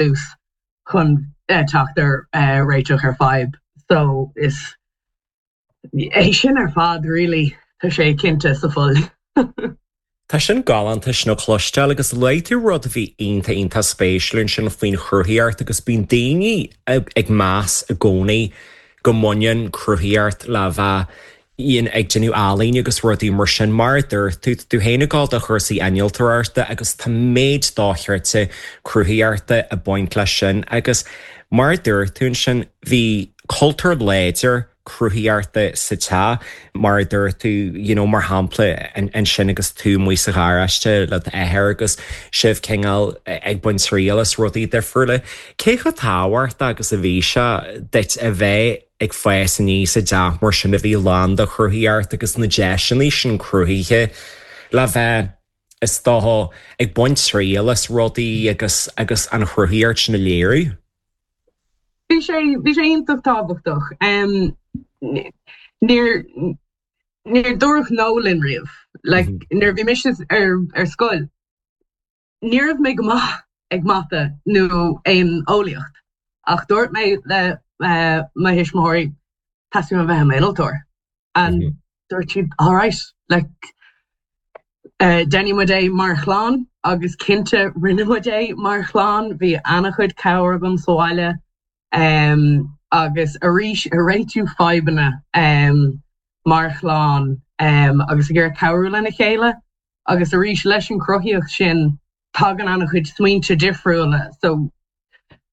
dtús chun teacht ar réiteach ar fadhb. So is é sin ar fad really, tá sé cinnte sa fuil. Tá sin galánta sin a chloisteáil agus luaigh tú rud a bhí iontach iontach spéisiúil ansin faoin chruthaíocht agus bíonn daoine ag meas i gcónaí go mbaineann cruthaíocht le bheith ag déanamh ealaíne agus rudaí mar sin. Mar a dúirt tú, tá tú féin ag dul do chúrsaí innealtóireachta agus tá méid dochreidte cruthaíochta ag baint leis sin agus mar a dúirt tú ansin, bhí cultúr láidir cruthaíochta sa teach, mar a dúirt tú, you know, mar shampla ansin agus tú amuigh sa gharáiste le d'athair agus sibh cineál ag baint triail as rudaí difriúla. Cé chomh tábhachtach agus a bhí sé duit a bheith ag fás aníos i dteach mar sin a bhí lán de chruthaíocht agus na deiseanna sin cruthaithe le bheith, is dócha, ag baint triail as rudaí agus agus an chruthaíocht sin a léiriú? Bhí sé, bhí sé iontach tábhachtach. Níor, níor dúradh no linn riamh. Like, nuair a bhí mise ar, ar scoil, ní raibh mé go maith ag mata nó aon eolaíocht ach dúirt mé le mo thuismitheoirí teastaíonn uaim a bheith i m'innealtóir and dúirt siad alright like déanfaidh muid é mar chlann agus cinnte rinne muid é mar chlann bhí an-chuid cabhair agam sa bhaile agus arís ag réitiú fadhbanna mar chlann agus ag iarraidh cabhrú lena chéile. Agus arís, leis an chruthaíocht sin, tagann an-chuid smaointe difriúla. So,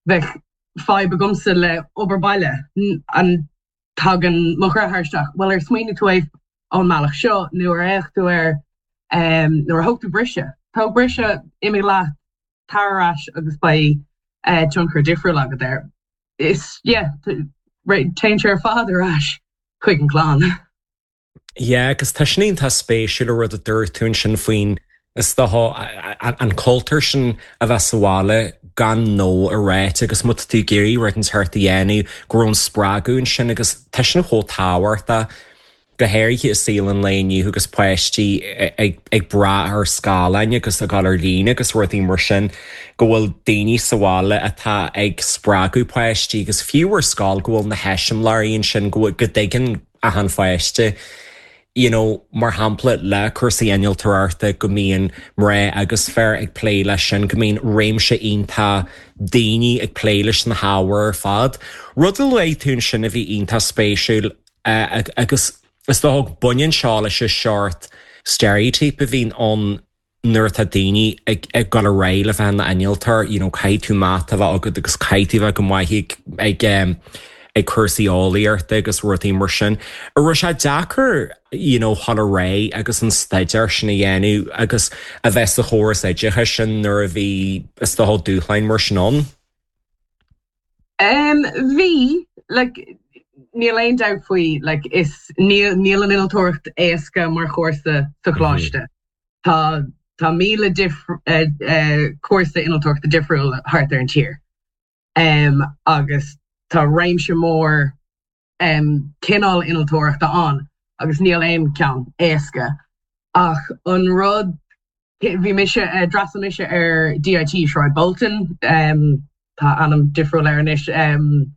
bheadh fadhb agamsa le obair baile, and tagann mo dheartháir isteach, bhuel, ar smaoinigh tú é ón mbealach seo, nó ar fhéach tú air, nó ar thóg tú briseadh? Tóg briseadh, imigh leat, tar ar ais agus beidh tionchar difriúil agat air. Is, yeah, téann sé ar fad ar ais chuig an gclann. Yeah, agus tá sin iontach spéisiúil an rud a dúirt tú ansin faoin, is dócha, an cultúr sin a bheith sa bhaile gan no a ráit agus má tá tú ag iarraidh rud inteacht a dhéanamh, go raibh an spreagadh ansin agus tá sin chomh tábhachtach, go háirithe i saol an lae inniu agus páistí ag brath ar scáileáin agus ag dul ar líne agus rudaí mar sin, go bhfuil daoine sa bhaile atá ag spreagadh páistí agus fiú ar scoil go bhfuil na heiseamláirí ansin go dtuigeann achan pháiste, you know, mar shampla le cúrsaí innealtóireachta go mbíonn mná agus fir ag plé leis sin, go mbíonn réimse iontach daoine ag plé leis na hábhair ar fad. Rud a luaigh tú ansin a bhí iontach spéisiúil agus is dócha go baineann seo leis an seort stereotype a bhíonn ann nuair atá daoine ag ag dul ar aghaidh le bheith ina n-innealtóir, you know, caithfidh tú mata a bheith agat agus caithfidh tú a bheith go maith ag ag um, ag cúrsaí eolaíochta agus rudaí mar sin. An raibh sé deacair, you know, dul ar aghaidh agus an staidéar sin a dhéanamh agus a bheith sa chóras oideachais sin nuair a bhí is dócha dúshláin mar sin ann? Um, bhí, like, níl aon dabht faoi, like, is níl, níl an innealtóireacht éasca mar chúrsa sa choláiste. Tá, tá 1000 dif- eh, eh, cúrsa innealtóireachta difriúil thart ar an tír. Um, agus tá réimse mór um, cineál innealtóireachta ann agus níl aon ceann éasca. Ach an rud, bhí mise, eh, d'fhreastail mise ar DIT Sráid Bolton, um, tá ainm difriúil air anois, um,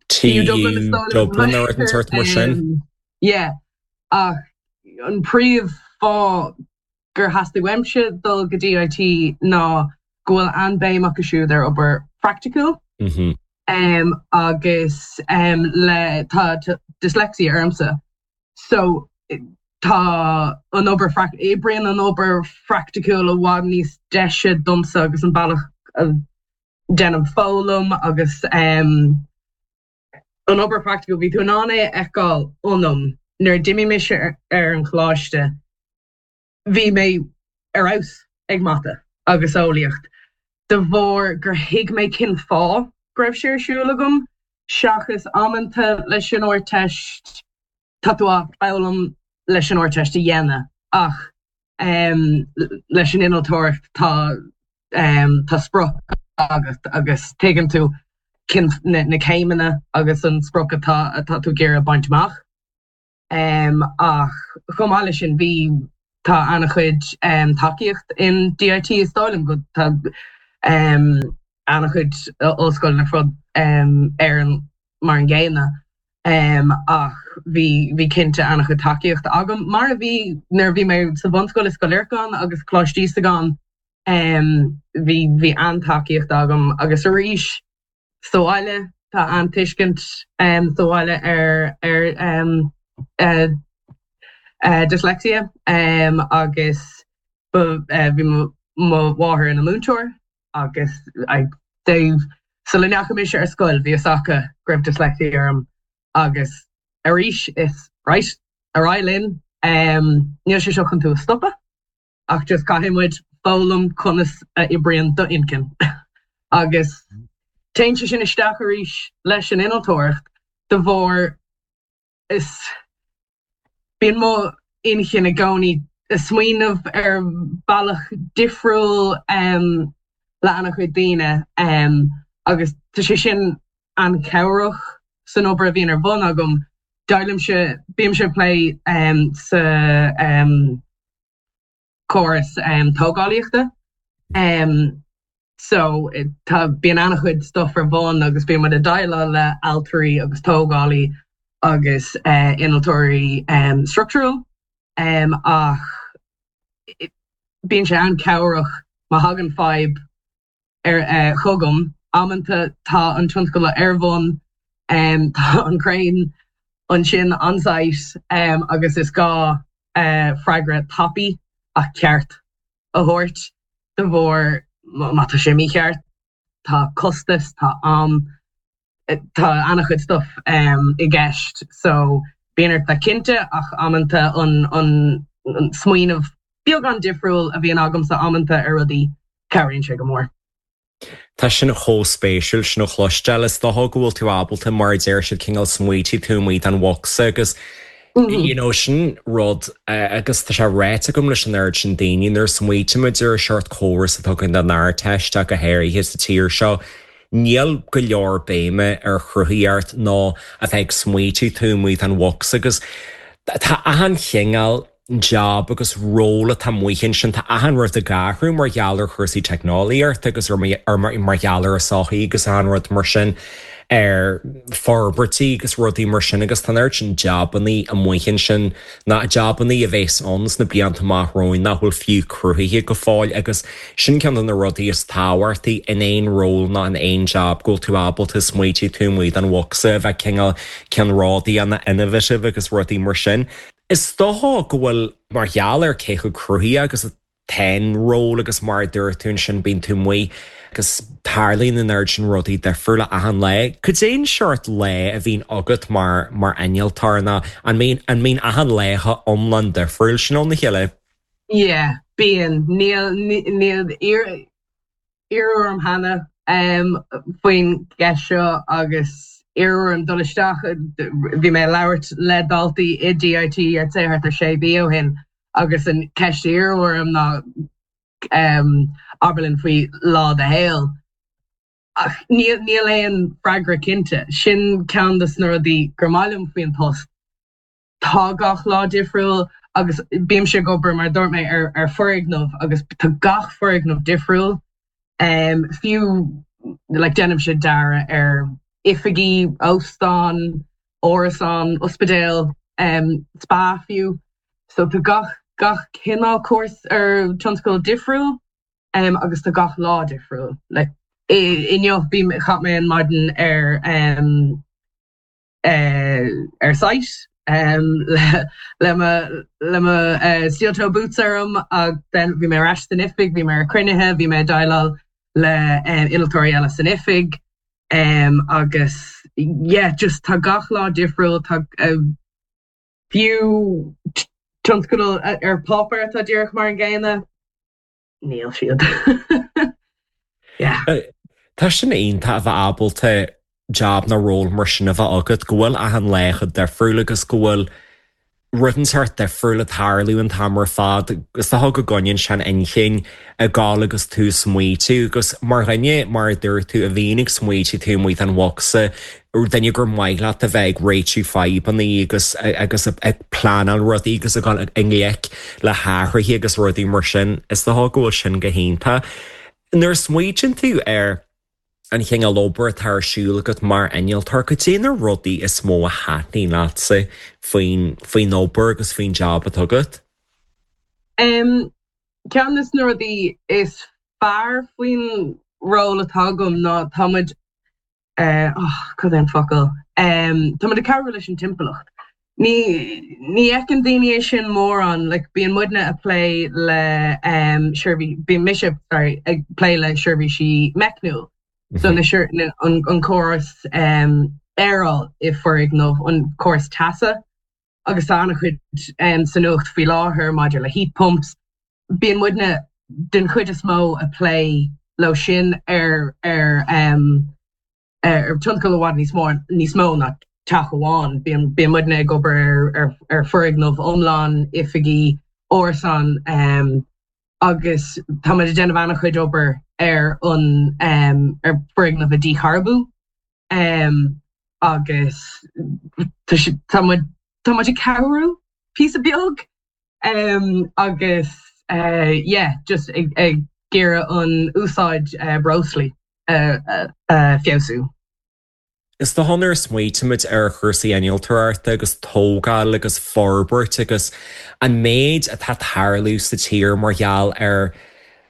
TU Dublin is dóigh liom. Dublin nó rud inteacht mar sin. Um, yeah, ach an príomh fáth gur theastaigh uaimse dul go DIT ná go bhfuil an-bhéim acu siúd ar obair phraiticiúil agus le tá dyslexia ormsa so tá an obair oibríonn an obair phraiticiúil i bhfad níos deise domsa agus an bealach a déanaim foghlaim agus an obair phraiticiúil bhí tú in ann é a fheiceáil ionam nuair a d'imigh mise ar an choláiste. Bhí mé ar fheabhas ag mata agus eolaíocht de bharr gur thuig mé cén fáth go raibh sé ar siúl agam, seachas amanta leis an Ardteist, tá tú á foghlaim leis an Ardteist a dhéanamh ach leis an innealtóireacht tá tá sprioc agat agus tuigeann tú cén na céimeanna agus an sprioc atá atá tú ag iarraidh baint amach. Ach chomh maith leis sin, bhí, tá an-chuid tacaíocht in DIT is dóigh liom go, tá. An-chuid ollscoileanna ar fud Éireann mar an gcéanna. Ach bhí bhí cinnte an-chuid tacaíochta agam, mar a bhí nuair a bhí mé sa bhunscoil i Scoil Lorcáin agus Coláiste Íosagáin. Bhí bhí an-tacaíocht agam agus arís sa bhaile tá an-tuiscint sa bhaile ar ar dyslexia agus bhí mo mháthair ina múinteoir agus they sula ndeachaigh mise ar scoil bhí fhios acu go raibh dyslexia orm agus arís is right ar aghaidh linn níl sé seo chun tú a stopadh ach just caithfidh muid foghlaim conas a oibríonn d'inchinn agus téann sé sin isteach arís leis an innealtóireacht de bharr is bíonn mo inchinn i gcónaí ag smaoineamh ar bhealach difriúil le an-chuid daoine agus tá sé sin an-chabhrach san obair a bhíonn ar bun agam. Déileálaimse, bímse ag plé sa córas tógálaíochta. So tá, bíonn an-chuid stuff ar bun agus bíonn muid ag déileáil le ailtirí agus tógálaí agus innealtóirí structural ach bíonn sé an-chabhrach má thagann fadhb ar chugam. Amanta tá an tionscal ar bun, tá an crane ansin on site agus is gá freagra tapaidh ach ceart a thabhairt de bharr má tá sé mícheart tá costas, tá am, tá an-chuid stuff i gceist so bíonn ort bheith cinnte ach amanta an smaoineamh beagán difriúil a bhíonn agamsa amanta ar rudaí, cabhraíonn sé go mór. Tá sin chomh spéisiúil sin a chloisteáil. Is dócha go bhfuil tú ábalta, mar a deir siad, cineál smaoitiú taobh amuigh den bhocsa agus you know sin rud agus tá sé ráite agam leis an oiread sin daoine nuair a smaoitímid ar an seort córas atá againn don Ardteist ach go háirithe sa tír seo, níl go leor béime ar chruthaíocht nó a bheith ag smaoitiú taobh amuigh den bhocsa agus tá achan chineál job agus ról atá amuigh ansin, tá achan rud ag athrú mar gheall ar chúrsaí teicneolaíochta agus ar mar gheall ar an sochaí agus achan rud mar sin, ar forbairtí agus rudaí mar sin agus tá an oiread sin jabannaí amuigh ansin, ná jabannaí a bheas ann sna blianta amach romhainn nach bhfuil fiú cruthaithe go fóill agus sin ceann de na rudaí is tábhachtaí in aon ról ná in aon job, go bhfuil tú ábalta smaoitiú taobh amuigh den bhocsa, a bheith cineál ceannródaí, innovative agus rudaí mar sin. Is dócha go bhfuil, mar gheall ar cé chomh cruthaitheach agus atá an ról agus mar a dúirt tú ansin bíonn tú amuigh agus tarlaíonn an oiread sin rudaí difriúla achan lá. Cad é an seort lá a bhíonn agat mar mar innealtóir nó an mbíonn an mbíonn achan lá chomh iomlán difriúil sin óna chéile? Yeah, bíonn. Níl níl Iarradh orm cheana faoin gceist seo agus iarradh orm dul isteach, bhí mé ag labhairt le daltaí i DIT I'd say thart ar sé mhí ó shin agus an ceist a iarradh orm ná abair linn faoi lá do shaoil. Ach níl níl aon freagra cinnte. Sin ceann de na rudaí gur maith liom faoin post. Tá gach lá difriúil agus bímse ag obair, mar a dúirt mé, ar ar foirgneamh agus tá gach foirgneamh difriúil. Fiú like déanaimse dearadh ar oifigí, óstán, árasán, ospidéal, spa fiú. So tá gach gach cineál cúrsa ar tionscal difriúil agus tá gach lá difriúil. Like inniu bhí chaith mé an maidin ar ar site le mo le mo steel toe boots orm ach then bhí mé ar ais san oifig, bhí mé ar cruinnithe, bhí mé ag déileáil le innealtóirí eile san oifig agus yeah just tá gach lá difriúil, tá fiú tionscadal ar páipéar atá díreach mar an gcéanna. Níl siad. Yeah. Tá sin iontach a bheith ábalta job nó ról mar sin a bheith agat, go bhfuil achan lá chomh difriúil agus go bhfuil rud inteacht difriúil ag tarlú an t-am ar fad. Is dócha go gcoinníonn sé an inchinn ag gabháil agus tú ag smaoitiú agus mar dhuine, mar a dúirt tú, a bhíonn ag smaoitiú taobh amuigh den bhocsa, duine gur maith leat a bheith ag réitiú fadhbanna agus agus ag pleanáil rudaí agus ag dul i ngleic le hathruithe agus rudaí mar sin, is dócha go bhfuil sin go hiontach. Nuair a smaoitíonn tú ar an chineál obair atá ar siúl agat mar innealtóir, cad é na rudaí is mó a thaitníonn leatsa faoin faoin obair agus faoin jab atá agat? Ceann de na rudaí is fearr faoin ról atá agam ná tá muid oh, cad é an focal? Tá muid ag cabhrú leis an timpeallacht. Ní ní fheiceann daoine é sin mórán, like bíonn muidne ag plé le seirbhí bíonn mise sorry ag plé le seirbhísí meicniúil. So na na an an córas aeráil i foirgneamh, an córas teasa agus tá an-chuid sa nuacht faoi láthair maidir le heat pumps. Bíonn muidne den chuid is mó ag plé leo sin ar ar ar tionscal i bhfad níos mó níos mó ná teach amháin. Bíonn bíonn muidne ag obair ar ar ar foirgneamh iomlán, oifigí, árasán agus tá muid ag déanamh an-chuid obair ar an ar foirgneamh a dícharbú agus tá muid tá muid ag cabhrú píosa beag agus yeah just ag ag iarraidh an úsáid breoslaí a feabhsú. Is dócha nuair a smaoitímid ar chúrsaí innealtóireachta agus tógáil agus forbairt agus an méid atá ag tarlú sa tír mar gheall ar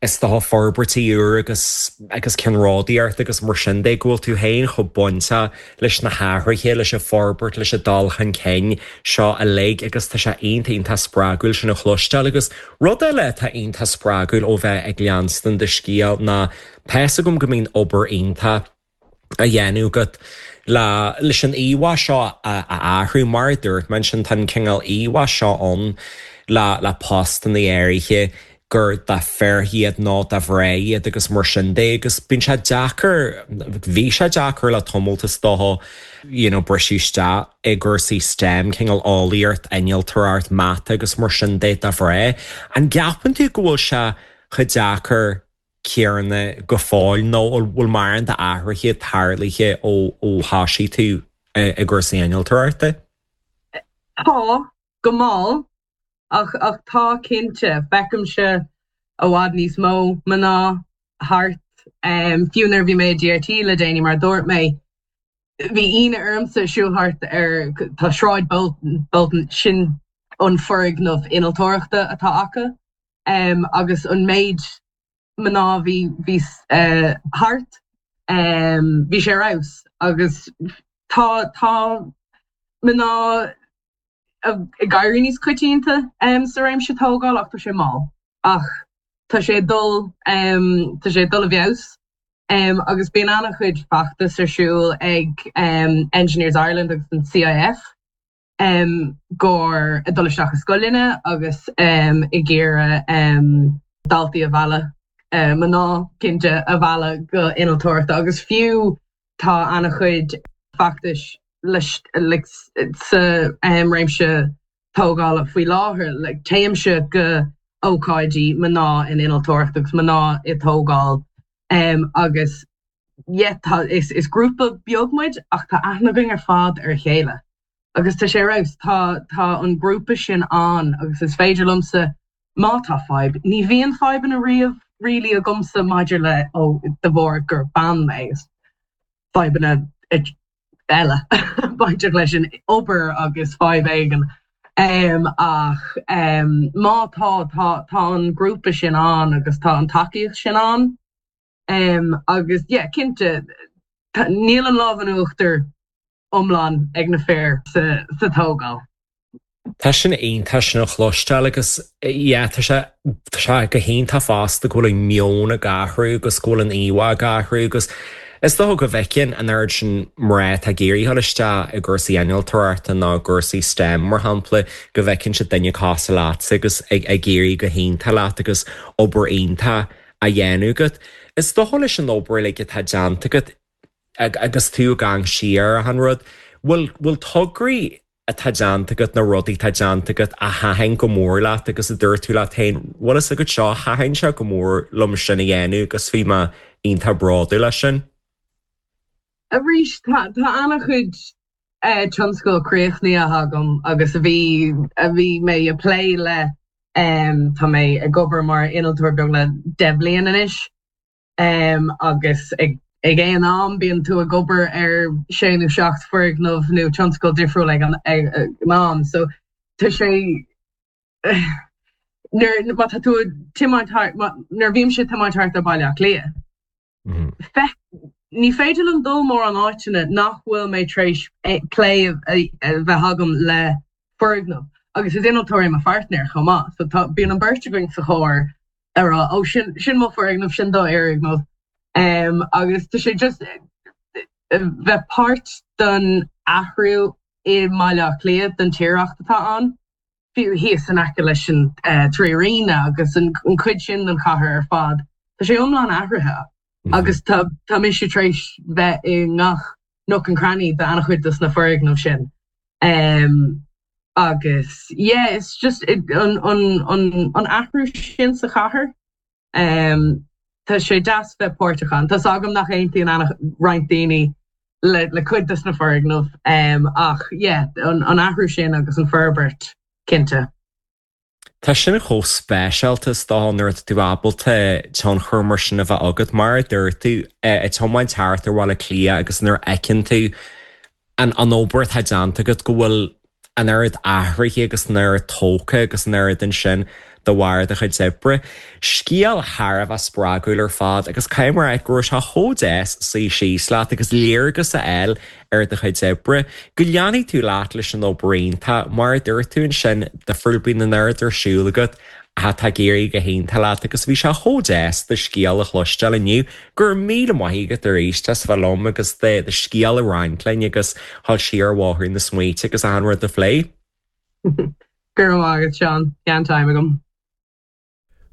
is dócha forbairtí úr agus agus ceannródaíocht agus mar sin de, go bhfuil tú féin chomh bainteach leis na hathruithe, leis an bhforbairt, leis an dul chun cinn seo uilig agus tá sé iontach iontach spreagúil sin a chloisteáil agus rud eile atá iontach spreagúil ó bheith ag leanstan do scéal ná tá fhios agam go mbíonn obair iontach a dhéanamh agat le leis an íomhá seo a athrú. Mar a dúirt mé ansin, tá an cineál íomhá seo ann le le postanna áirithe gur do fir iad nó do mhná iad agus mar sin de agus bíonn sé deacair, bhí sé deacair le tamalt is dócha you know briseadh isteach i gcúrsaí STEM, cineál eolaíocht, innealtóireacht, mata agus mar sin de do mhná. An gceapann tú go bhfuil sé chomh deacair céanna go fóill nó an bhfuil mórán d'athruithe tarlaithe ó thosaigh tú i gcúrsaí innealtóireachta? Tá, go mall, ach ach tá cinnte. Feicimse i bhfad níos mó mná thart. Fiú nuair a bhí mé i DIT le déanaí, mar a dúirt mé, bhí ionadh ormsa siúl thart ar, tá Sráid Bolton, sin an foirgneamh innealtóireachta atá acu. agus an méid mná a bhí bhí thart, bhí sé ar fheabhas agus tá tá mná ag éirí níos coitianta sa réimse tógála ach tá sé mall ach tá sé ag dul tá sé ag dul i bhfeabhas agus bíonn an-chuid feachtas ar siúl ag Engineers Ireland agus an CIF. gur ag dul isteach i scoileanna agus ag iarraidh daltaí a mhealladh, mná cinnte, a mhealladh go innealtóireachta agus fiú tá an-chuid feachtais leis like sa réimse tógála faoi láthair like téimse go ócáidí mná in innealtóireacht agus mná i tógáil agus yeah tá is is grúpa beag muid ach tá aithne againn ar fad ar a chéile agus tá sé ar fheabhas. Tá tá an grúpa sin ann agus is féidir liomsa má tá fadhb, ní bhíonn fadhbanna riamh really agamsa maidir le ó de bharr gur bean mé, is fadhbanna eile bainteach leis an obair agus fadhb éigin ach má tá tá tá an grúpa sin ann agus tá an tacaíocht sin ann. Agus yeah, cinnte, níl an lámh in uachtar iomlán ag na fir sa tógáil. Tá sin iontach sin a chloisteáil agus yeah, tá sé tá sé go hiontach fosta go bhfuil an meon ag athrú agus go bhfuil an íomhá ag athrú agus is dócha go bhfeiceann an oiread sin mná atá ag iarraidh dul isteach i gcúrsaí innealtóireachta nó i gcúrsaí STEM mar shampla go bhfeiceann siad duine cosúil leatsa agus ag ag éirí go hiontach leat agus obair iontach á dhéanamh agat. Is dócha leis an obair uilig atá déanta agat agus tú ag amharc siar ar an rud, bhfuil, bhfuil tograí atá déanta agat, na rudaí atá déanta agat a thaitin go mór leat agus a dúirt tú leat féin, bhfuil fhios agat seo, thaitin sé go mór liom sin a dhéanamh agus bhí mé iontach bródúil as sin. Arís, tá, tá an-chuid tionscal críochnaithe agam agus a bhí a bhí mé ag plé le tá mé ag obair mar innealtóir beagnach 10 bhliain anois. Agus ag aon am bíonn tú ag obair ar sé nó seacht foirgneamh nó tionscal difriúil ag an am. So tá sé nuair má tá tú ag tiomáint thart nuair a bhímse ag tiomáint thart ar Baile Átha Cliath, feic ní féidir liom dul mórán áiteanna nach bhfuil mé tar éis plé a bheith agam le foirgneamh. Agus is innealtóir é mo pháirtnéir chomh maith, so tá bíonn an beirt againn sa charr ag rá ó sin sin mo foirgneamh, sin do fhoirgneamh. Agus tá sé just bheith páirt den athrú i mBaile Átha Cliath, den tírdhreach atá ann, fiú thíos in aice leis an Trí Airne agus an chuid sin den chathair ar fad, tá sé iomlán athraithe agus tá tá mise tar éis bheith i ngach nook and cranny d'an-chuid dos na foirgnimh sin. Agus yeah, it's just an an an athrú sin sa chathair, tá sé deas bheith páirteach ann. Tá's agam nach aontaíonn roinnt daoine le le cuid dos na foirgnimh ach yeah, an an athrú sin agus an forbairt, cinnte. Tá sin chomh speisialta is dócha nuair atá tú ábalta tionchar mar sin a bheith agat, mar a dúirt tú, ag tiomáint thart ar Bhaile Átha Cliath agus nuair a fheiceann tú an obair atá déanta agat, go bhfuil an oiread athraithe agus an oiread tógtha agus an oiread ansin de bharr do chuid oibre. Scéal thar a bheith spreagúil ar fad agus caithfidh mé a rá go raibh sé chomh deas suí síos leat agus léargas a fháil ar do chuid oibre, go leanfaidh tú leat leis an obair iontach, mar a dúirt tú ansin, difriúil, bíonn an oiread ar siúl agat ach tá ag éirí go hiontach leat agus bhí sé chomh deas do scéal a chloisteáil inniu. Go raibh míle maith agat arís as bheith liom agus do scéal a roinnt linn agus dhul siar ar bhóthar na smaointe agus achan rud a phlé. Go raibh maith agat, Seán. Bhí an-time agam.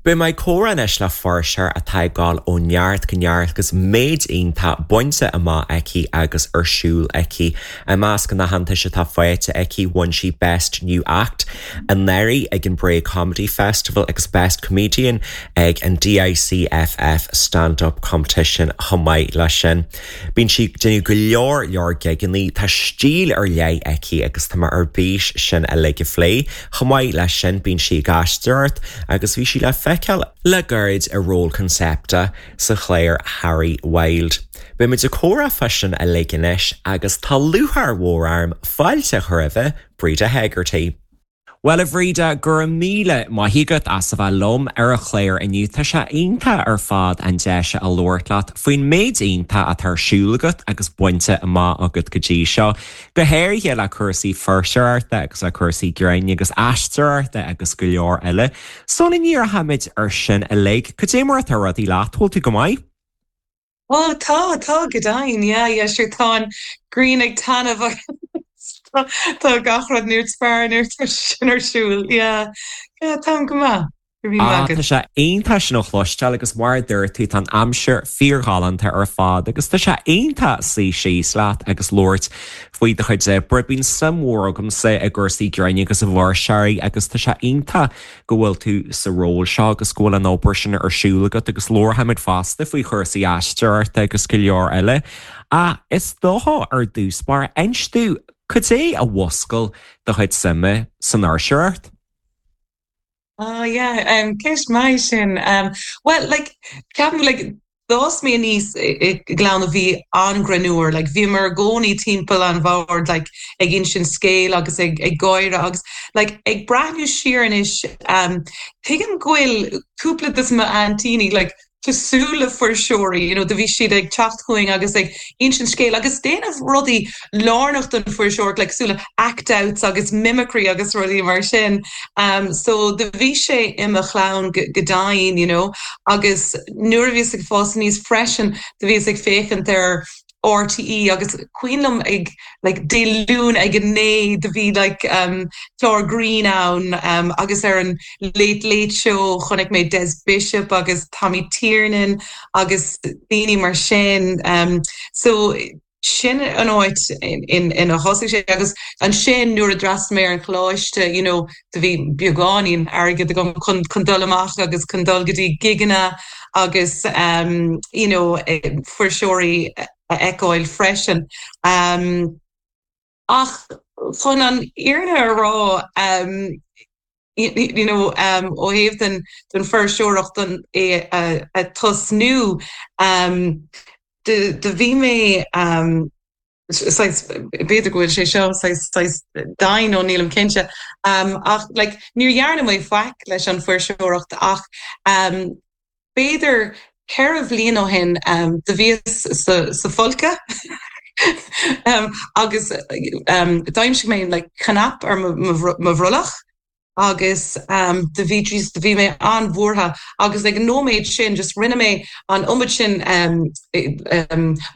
Beidh mé ag comhrá anois le fuirseoir atá ag dul ó neart go neart agus méid iontach bainte amach aici agus ar siúl aici. I measc an aitheantais atá faighte aici, bhain sí Best New Act anuraidh ag an Bray Comedy Festival agus Best Comedian ag an DICFF Stand Up Competition chomh maith leis sin. Bíonn sí ag déanamh go leor leor gigeanna, tá stíl ar leith aici agus tá mé ar bís sin uilig a phlé. Chomh maith leis sin, bíonn sí ag aisteoireacht agus bhí sí le feiceáil le gairid i ról Concepta sa chlár Harry Wild. Beidh muid ag comhrá fá sin uilig anois agus tá lúcháir mhór orm fáilte a chur roimhe, Breda Hegarty. Bhuel, a Bhreda, go raibh míle maith agat as a bheith liom ar an chlár inniu. Tá sé iontach ar fad an deis a labhairt leat faoin méid iontach atá ar siúl agat agus bainte amach agat go dtí seo. Go háirithe le cúrsaí fuirseoireachta agus le cúrsaí grinn agus aisteoireachta agus go leor eile. Sula ndíreochaimid ar sin uilig, cad é mar atá rudaí leat? Bhfuil tú go maith? Ó tá, tá, go deimhin, yeah, yeah, sure, tá an ghrian ag taitneamh agus tá gach rud níos fearr nuair atá sin ar siúl, yeah, yeah, táim go maith. Ah, tá sé iontach sin a chloisteáil agus mar a dúirt tú, tá an aimsir fíorghalánta ar fad agus tá sé iontach suí síos leat agus labhairt faoi do chuid oibre. Bíonn suim mhór agamsa i gcúrsaí grinn agus i bhfuirseoirí agus tá sé iontach go bhfuil tú sa ról seo agus go bhfuil an obair sin ar siúl agat agus labharfaimid fosta faoi chúrsaí aisteoireachta agus go leor eile. Ach is dócha ar dtús báire, inis domh, cad é a mhúscail do chuid suime san fhuirseoireacht? Oh yeah, um, ceist maith sin. Um, well, like, ceapaim, like, d'fhás mé aníos i gclann a bhí an-ghreannmhar, like, bhíomar i gcónaí timpeall an bhoird, like, ag insint scéal agus ag, ag gáire agus, like, ag breathnú siar anois, um, tuigim go bhfuil cúpla de m'aintíní, like, cosúil le fuirseoirí, you know, do bhí siad ag teacht chugainn agus ag insint scéal agus déanamh rudaí lárnach don fuirseoireacht, like cosúil le act outs agus mimicry agus rudaí mar sin. Um, so do bhí sé i mo chlann go, go deimhin, you know, agus nuair a bhíos ag fás aníos freisin, do bhíos ag féachaint ar RTÉ agus cuimhin liom ag like Dé Luain ag a 9 do bhí like um clár grinn ann um agus ar an Late Late Show chonaic mé Des Bishop agus Tommy Tiernan agus daoine mar sin um so sin an áit ina thosaigh sé agus ansin nuair a d'fhreastail mé ar an choláiste you know do bhí beagáinín airgid agam chun chun dul amach agus chun dul go dtí gigeanna agus um you know fuirseoirí a fheiceáil freisin. Um ach chun an fhírinne a rá um. You know, ó thaobh den den fuirseoireacht don é a tosnú, do do bhí mé saghas, b'fhéidir go bhfuil sé seo saghas saghas domhain nó nílim cinnte, ach like níor dhearna mé faic leis an fuirseoireacht ach b'fhéidir 4 bhliain ó shin do bhíos sa folcadh agus d'aimsigh mé like cnap ar mo bhrollach agus do bhí just do bhí mé an-bhuartha agus ag an nóiméad sin just rinne mé an iomad sin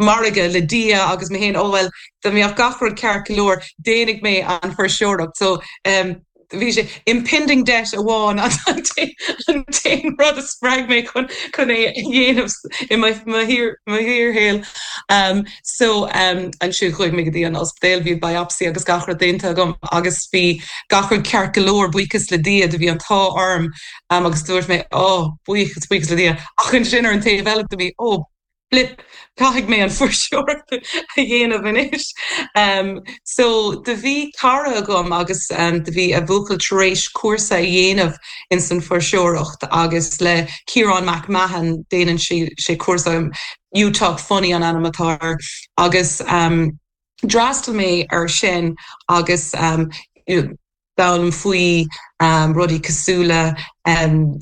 margadh le Dia agus mé féin, oh well dá mbeadh gach rud ceart go leor déanfaidh mé an fuirseoireacht so Bhí sé impending debt amháin an t-aon rud a spreag mé chun chun é a dhéanamh i mo shaol. So ansin chuaigh mé go dtí an ospidéal, bhí biopsy agus gach rud déanta agam agus bhí gach rud ceart go leor, buíochas le Dia, do bhí an t-ádh orm agus dúirt mé oh buíochas, buíochas le Dia. Ach ansin ar an taobh eile do bhí oh flip, caithfidh mé an fuirseoireacht a dhéanamh anois. So do bhí cara agam agus do bhí a bhuachaill tar éis cúrsa a dhéanamh ins an fuirseoireacht agus le Ciarán Mac Mahon, déanann sé cúrsa, You Talk Funny an ainm atá air, agus d'fhreastail mé ar sin agus d'fhoghlaim faoi rudaí cosúil le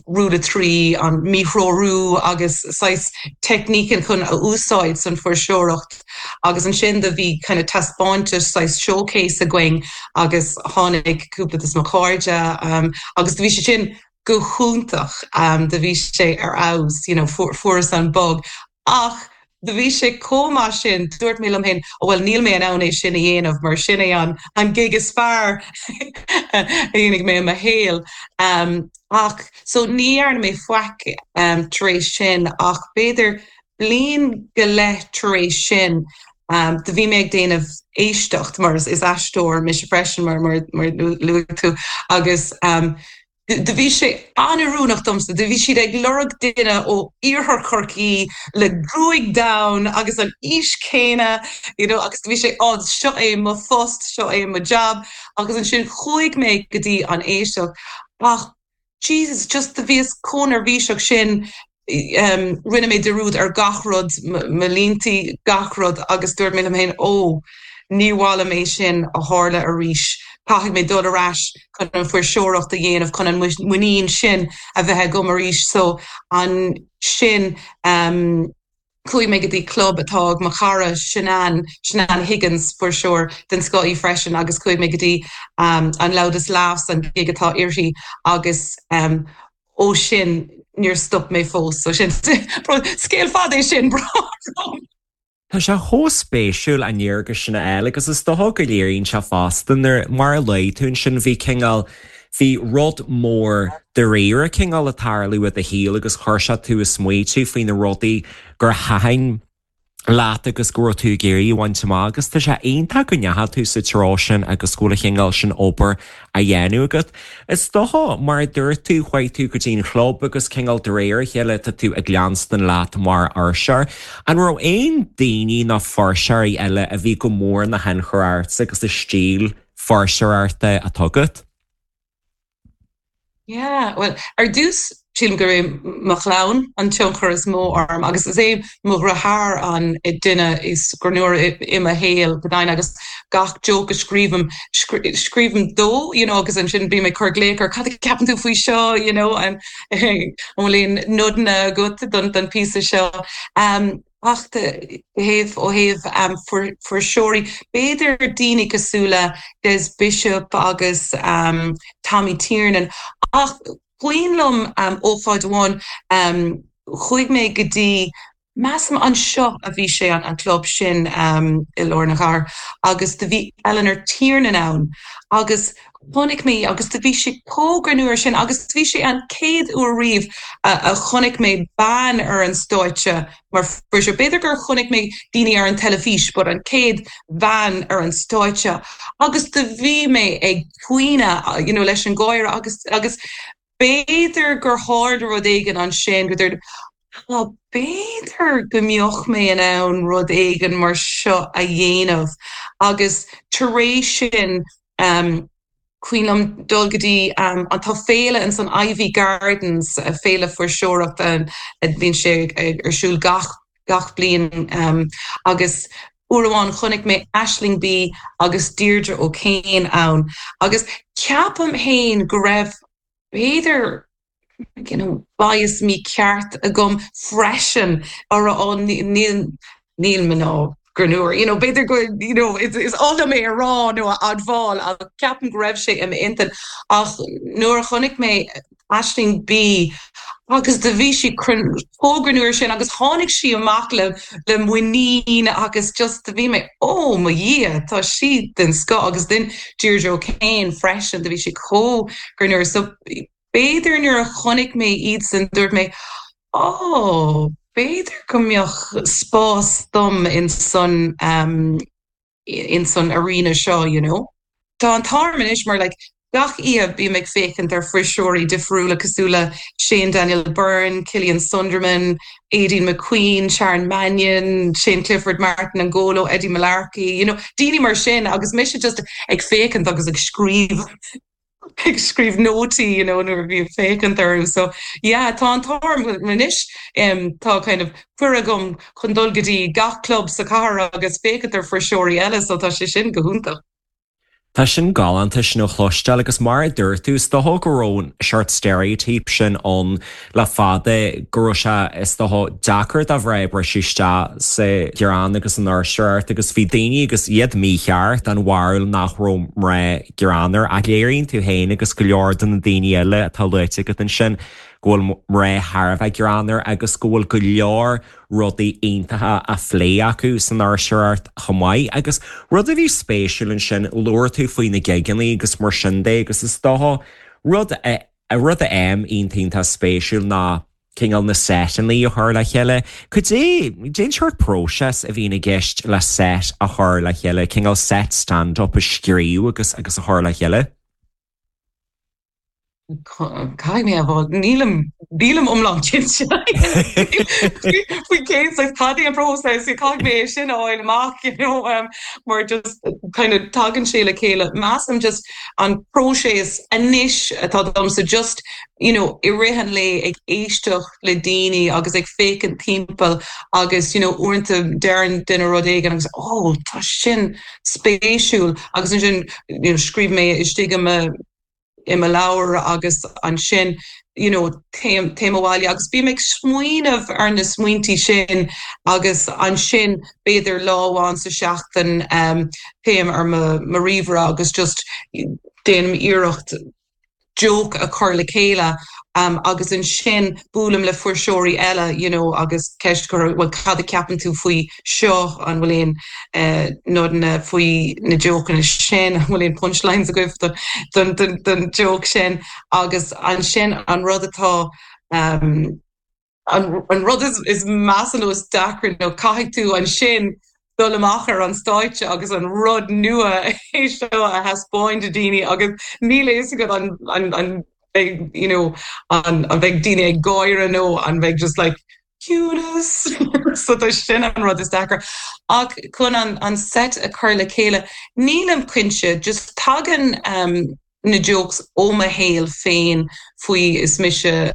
Rule of Three, an míthreorú agus saghas teicnící chun a úsáid san fuirseoireacht agus ansin do bhí kind of taispeántas saghas showcase againn agus tháinig cúpla de mo chairde agus do bhí sé sin go hiontach do bhí sé ar fheabhas you know fuaireas an bug Ach do bhí sé chomh maith sin, dúirt mé liom féin, ó bhuel níl mé in ann é sin a dhéanamh mar sin é an an gig is fearr a dhéanfaidh mé i mo shaol. Ach so ní dhearna mé faic tar éis sin ach b'fhéidir bliain go leith tar éis sin do bhí mé ag déanamh éisteacht mar is aisteoir mise freisin mar mar mar luaigh tú agus Do bhí sé an-oiriúnach domsa. Do bhí siad ag lorg duine ó iarthar Chorcaí le gruaig donn agus an aois céanna, you know, agus do bhí sé, oh, seo é mo phost, seo é mo job. Agus ansin chuaigh mé go dtí an éisteacht ach Jesus, just do bhíos chomh neirbhíseach sin Rinne mé dearúd ar gach rud, mo líntí, gach rud agus dúirt mé liom féin, 'Ó, ní mhaith liom é sin a tharla arís. Caithfidh mé dul ar ais chun an fuirseoireacht a dhéanamh, chun an muinín sin a bheith agam arís. So ansin chuaigh mé go dtí club atá ag mo chara Shanann, Shanann Higgins, fuirseoir den scoth í freisin, agus chuaigh mé go dtí an Loudest Laughs, an gig atá uirthi agus ó sin níor stop mé fós. So sin scéal fada é sin, brón. Tá sé chomh spéisiúil an léargas sin a fháil agus is dócha go léiríonn sé fosta nuair, mar a luaigh tú ansin, bhí cineál, bhí rud mór dáiríre cineál ag tarlú i do shaol agus chuir sé tú ag smaoitiú faoi na rudaí gur thaitin leat agus go raibh tú ag iarraidh a bhaint amach agus tá sé iontach go ndeachaigh tú sa treo sin agus go bhfuil an chineál sin obair á dhéanamh agat. Is dócha, mar a dúirt tú, chuaigh tú go dtí an chlub agus cineál de réir a chéile tá tú ag leanstan leat mar fhuirseoir. An raibh aon daoine nó fuirseoirí eile a bhí go mór ina thionchar ortsa agus an stíl fuirseoireachta atá agat? Yeah, bhuel, ar dtús, sílim gurb é mo chlann an tionchar is mó orm agus is é mo dheartháir an duine is greannmhaire i mo shaol, go deimhin, agus gach joke a scríobhaim, scríobhaim dó, you know, agus ansin bím ag cur glaoch air, cad a ceapann tú faoi seo, you know, an bhfuil aon nodanna agat don don píosa seo? Ach thaobh, ó thaobh fuirseoirí, b'fhéidir daoine cosúil le Des Bishop agus Tommy Tiernan. Ach cuimhin liom ócáid amháin, chuaigh mé go dtí, measaim anseo a bhí sé, an club sin i lár na cathrach, agus do bhí Eleanor Tiernan ann agus chonaic mé í agus do bhí sí chomh greannmhar sin agus bhí sé an chéad uair riamh a chonaic mé bean ar an stáitse mar fuirseoir. B'fhéidir gur chonaic mé daoine ar an teilifís but an chéad bhean ar an stáitse agus do bhí mé ag caoineadh you know leis an gáire agus agus b'fhéidir gur tharla rud éigin ansin go dúirt Á, b'fhéidir go mbeadh mé in ann rud éigin mar seo a dhéanamh agus tar éis sin. Cuimhin liom dul go dtí an tá féile ins an Iveagh Gardens, féile fuirseoireachta a bhíonn sé ar siúl gach gach bliain agus uair amháin chonaic mé Aisling Bea agus Deirdre O'Kane ann agus ceapaim féin go raibh b'fhéidir you know, bias mícheart agam freisin a rá oh níl níl mná greannmhar, you know, b'fhéidir go you know, is is oth liom é a rá nó a admháil ach ceapaim go raibh sé i m'intinn ach nuair a chonaic mé Aisling Bea agus do bhí sí chomh greannmhar sin agus tháinig sí amach le le muinín agus just do bhí mé oh mo Dhia tá sí den scoth agus then Deirdre O'Kane freisin do bhí sí chomh greannmhar so B'fhéidir nuair a chonaic mé iadsan dúirt mé oh b'fhéidir go mbeadh spás dom insan insan arena seo you know. Tá an t-ádh orm anois mar like gach oíche bím ag féachaint ar fuirseoirí difriúla cosúil le Shane Daniel Byrne, Killian Sundermann, Aideen McQueen, Sharon Mannion, Shane Clifford, Martin Angolo, Eddie Mullarkey, you know daoine mar sin agus mise just ag féachaint agus ag scríobh. ag scríobh nótaí you know nuair a bhím ag féachaint orthu so yeah tá an t-ádh orm anois tá kind of cuireadh agam chun dul go dtí gach club sa chathair agus féachaint ar fuirseoirí eile so tá sé sin go hiontach. Tá sin galánta sin a chloisteáil agus mar a dúirt tú, is dócha go raibh an seort stereotype sin ann le fada go raibh sé is dócha deacair do mhná briseadh isteach sa ghreann agus san fhuirseoireacht agus bhí daoine agus iad mícheart den bharúil nach raibh mná greannmhar ach léiríonn tú féin agus go leor de na daoine eile atá luaite agat ansin go bhfuil mná thar a bheith greannmhar agus go bhfuil go leor rudaí iontacha á phlé acu san fhuirseoireacht chomh maith. Agus rud a bhí spéisiúil ansin, labhair tú faoi na gigeanna agus mar sin de agus is dócha rud a rud a fhaighim iontach iontach spéisiúil ná cineál na seiteanna a chur le chéile. Cad é, cén seort próiseas a bhíonn i gceist le set a chur le chéile, cineál set stand-up a scríobh agus agus a chur le chéile? Caithfidh mé a rá, nílim, nílim iomlán cinnte faoi cén saghas, cad é an próiseas, caithfidh mé é sin a fháil amach, you know, mar just kind of tagann sé le chéile. Measaim just an próiseas anois atá domsa just you know i rith an lae ag éisteacht le daoine agus ag féachaint timpeall agus you know uaireanta deireann duine rud éigin agus oh tá sin spéisiúil agus ansin you know scríobh mé istigh i mo i mo leabhar agus ansin you know téim téim abhaile agus bím ag smaoineamh ar na smaointí sin agus ansin b'fhéidir lá amháin sa seachtain um téim ar mo mo ríomhaire agus just déanaim iarracht joke a chur le chéile agus ansin buailim le fuirseoirí eile you know agus ceist a chur bhuel cad a cheapann tú faoi seo, an bhfuil aon nodanna faoi na jokeanna sin, an bhfuil aon punchlines agaibh don don joke sin agus ansin an rud atá An rud is measa nó is deacra nó caithfidh tú ansin dul amach ar an stáitse agus an rud nua é seo a thaispeáint do daoine agus níl a fhios agat an an mbeidh you know an mbeidh daoine ag gáire nó an mbeidh just like ciúnas so tá sin an rud is deacra. Ach chun an an set a chur le chéile nílim cinnte just tagann na jokes ó mo shaol féin faoi is mise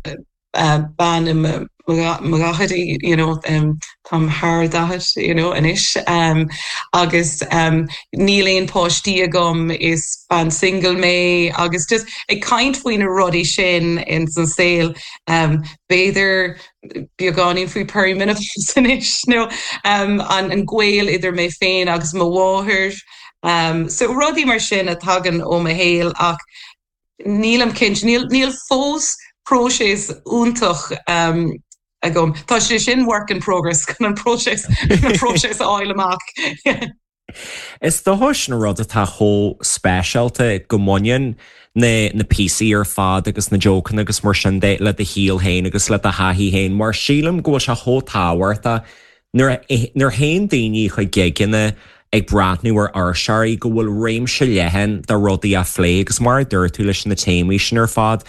bean i mo dhaichidí, you know, táim thar 40, you know, anois agus níl aon páistí agam, is bean single mé agus just ag caint faoi na rudaí sin ins an saol, b'fhéidir beagáinín faoi perimenopause anois nó an gaol idir mé féin agus mo mháthair, so rudaí mar sin a tagann ó mo shaol ach Nílim cinnte. Níl, níl fós próiseas iontach agam. Tá sé sin work in progress chun an próiseas, chun an próiseas a fháil amach. Is dócha sin an rud atá chomh speisialta go mbaineann na na píosaí ar fad agus na jokeanna agus mar sin de le do shaol féin agus le do thaithí féin mar sílim go bhfuil sé chomh tábhachtach Nuair a théann daoine chuig gigeanna ag breathnú ar fhuirseoirí go bhfuil réimse leathan de rudaí á phlé agus mar a dúirt tú leis na téamaí sin ar fad,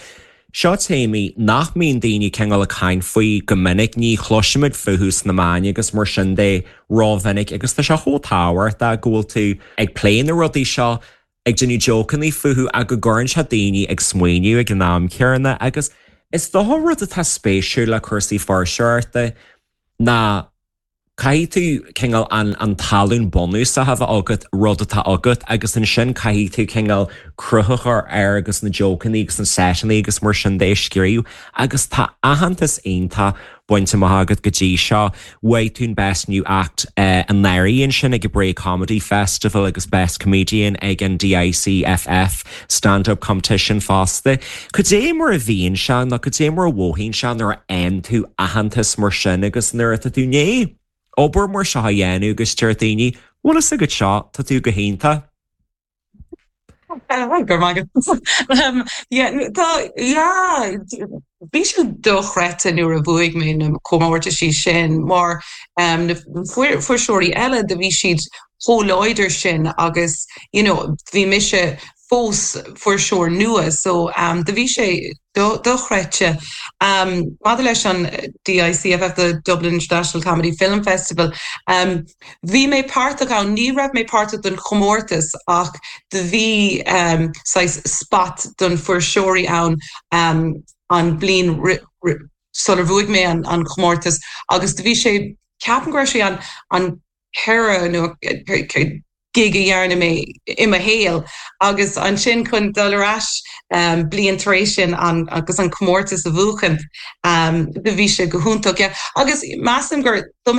seo téamaí nach mbíonn daoine cineál ag caint faoi go minic, ní chloisimid fúthu sna meáin agus mar sin de rómhinic agus tá sé chomh tábhachtach go bhfuil tú ag plé na rudaí seo. ag déanamh jócannaí fúthu ach go gcuireann sé daoine ag smaoineamh ag an am céanna agus is dócha rud atá spéisiúil le cúrsaí fuirseoireachta ná caithfidh tú cineál an an talún bunúsach a bheith agat, rud atá agat agus ansin caithfidh tú cineál cruth a chur air agus na jócannaí agus na seiteannaí agus mar sin de a scríobh agus tá aitheantas iontach bainte amach agat go dtí seo. Bhuaigh tú an Best New Act anuraidh ansin ag an Bray Comedy Festival agus Best Comedian ag an DICFF Stand Up Competition fosta. Cad é mar a bhíonn sé nó cad é mar a mhothaíonn sé nuair a fhaigheann tú aitheantas mar sin agus nuair atá tú i ndiaidh obair mar seo a dhéanamh agus deir daoine, bhfuil fhios agat seo, tá tú go hiontach. Go raibh maith agat. Yeah, tá, yeah, bhí sé dochreidte nuair a bhuaigh mé na comórtaisí sin mar na fuirseoirí eile do bhí siad chomh láidir sin agus you know bhí mise fós fuirseoir nua so do bhí sé dochreidte. Maidir leis an DICFF, the Dublin International Comedy Film Festival, bhí mé páirteach ann, ní raibh mé páirteach don chomórtas ach do bhí saghas spot don fuirseoirí ann an bliain sular bhuaigh mé an chomórtas agus do bhí sé, ceapaim go raibh sé an 4 nó gig a dhearna mé i mo shaol agus ansin chun dul ar ais bliain tar éis sin agus an comórtas a bhuachan do bhí sé go hiontach. Yeah. Agus measaim gur dom.